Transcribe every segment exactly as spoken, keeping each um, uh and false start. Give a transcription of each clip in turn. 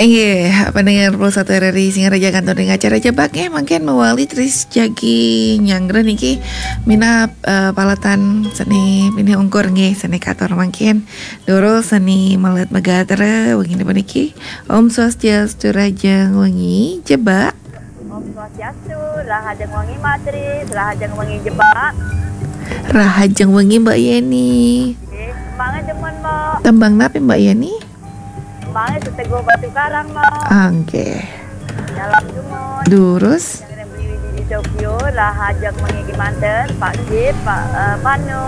Inggih, pendengar puluh satu R R I Singaraja, kantun ring acara Jebak nggih, mangkin mawali tris jagi nyanggra niki minab, eh, palatan seni pinih ungkur nggih, seni katur mangkin. Durus seni melet magatra wengi puniki. Om Swastiastu, rahajeng wengi, Jebak. Om Swastiastu, rahajeng wengi, Mbak Tris, rahajeng wengi, Jebak. Rahajeng wengi, Mbak Yeni. Nggih, tembangnya demen, Mbak. Tembang napi, Mbak Yeni? Tembangnya Seteguh Batu Karang, Mbak. Angke. Dalam Jumon. Durus. Yang Beli Widi di Tokyo, rahajeng wengi kemanten, Pak Sip, Pak, eh, Panu,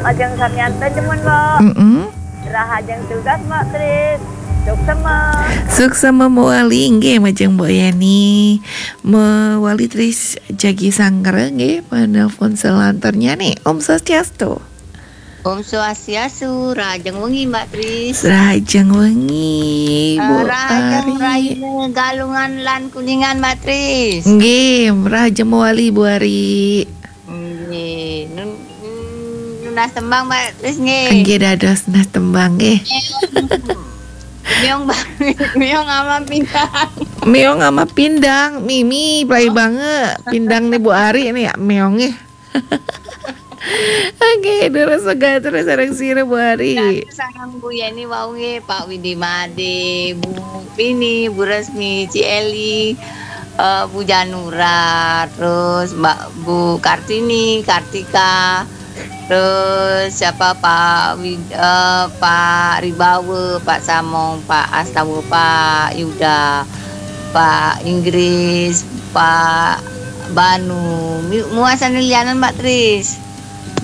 majeng samian ten demen, Mbak. Mm-mm. Rahajeng tugas, Mbak Tris. Suksema. Suksema mawali, inggih, majeng Mbok Yani. Mawali tris jagi sanggra, nggih, penelpon selanturnya nih. Om Swastiastu. Om Swastiastu, rahajeng wengi, Mbak Tris. Rahajeng wengi, eh, Bu rahajeng Ari. Raine Galungan lan Kuningan, Mbak Tris. Nggih, rahajeng mawali, Bu Ari. Nggih, nun-, nun-, nunas tembang, Mbak Tris, nggih. Nggih, dados nunas tembang, nggih. Meong, Mbak. Meong ama pindang. Meong ama pindang, mimi, play banget. Pindang nih Bu Ari nih, ya, meong nih. Oke, durus sejahtera sareng sira, Bu Ari. Sareng Bu Yeni wau nggih, Pak Widi Made, Bu Pini, Bu Resmi, Ci Eli, eh, Bu Janura, terus Mbak, Bu Kartini, Kartika, terus siapa, Pak Wid-, eh, Pak Ribawa, Pak Samong, Pak Astawa, Pak Yuda, Pak Inggris, Pak Banu. Mi-, muasan lianan, Mbak Tris.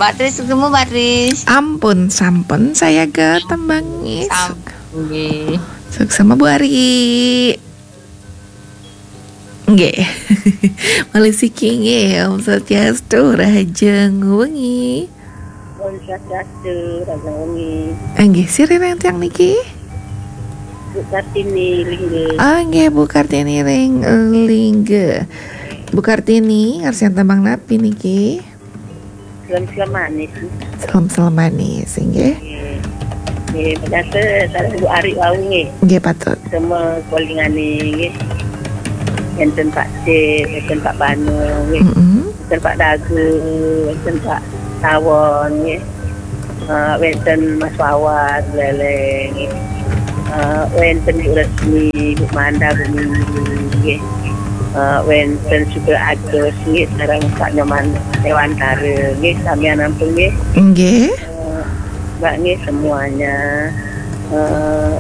Mbak Tris, ketemu, Mbak Tris. Ampun, sampun saya ke tembang, nggih. Sampun, nggih. Suksema, Bu Ari. Nggih. Malih siki nggih, Om Swastiastu, rahajeng wengi. Om Swastiastu, rahajeng wengi. Nggih, sira ring tiang niki? Bu Kartini, Lingga. Ah, nggih, Bu Kartini ring Lingga. Bu Kartini, ngarsiang tembang napi niki? Selem-selem manis. Selem-selem manis, nggih. Nggih. Nggih, biasa sareng Bu Ari wau nggih. Nggih, patut. Sama kolingane nggih. Enten Pak Cik, enten Pak Banu nggih. Mm-mm. Enten Pak Dagu, enten Pak Tawon nggih. Eh, wenten Mas Wawan, Leleng nggih. Eh, wenten Bu Resmi, Bu Manda, Bu Minggu nggih. Eh, wenten juga Agus nggih, sareng Pak Nyoman Dewantara nggih, samian ampun nggih. Nggih. Eh, Mbak nggih semuanya. Eh,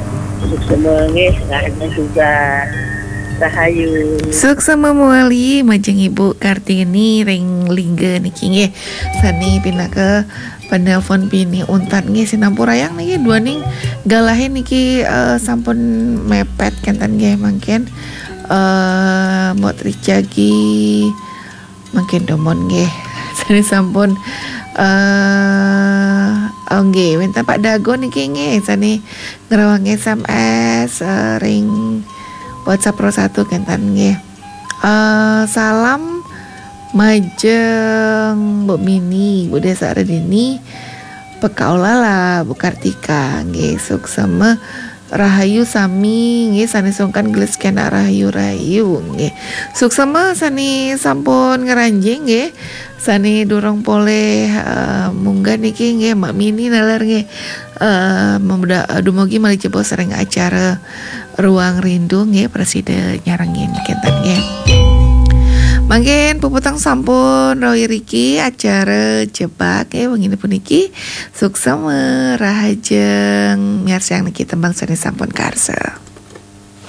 suksema nggih, rahajeng juga. Rahayu. Suksema mawali majeng Ibu Kartini ring Lingga niki nggih. Sane pinaka penelpon pinih untat nggih, sinampurayang niki duaning galahe niki, eh, sampun mepet kenten nggih mangkin. Eh, Mbok Tris jagi mangkin dumun nggih. Sane sampun, eh, oh nggih, wenten Pak Dago niki nggih, sane ngrawang S M S, eh, ring WhatsApp Pro satu kenten nggih. Eh, salam majeng Bu Mini, Bu Desa Redini, Pekaulala, Bu Kartika, nggih, suksema rahayu sami, nggih, sane sungkan gelis kena rahayu-rahayu, nggih. Suksema sane sampun ngranjing, nggih. Sane durung polih, eh, munggah niki, nggih, Mbak Mini naler, nggih. Eh, memuda-, eh, dumugi malih jebos ring acara Ruang Rindu nggih, prasida nyarengin kenten nggih. Mangkin puputang sampun rauh iriki acara Jebak nggih, wengine puniki. Suksema rahajeng miarsang niki tembang sane sampun karsa.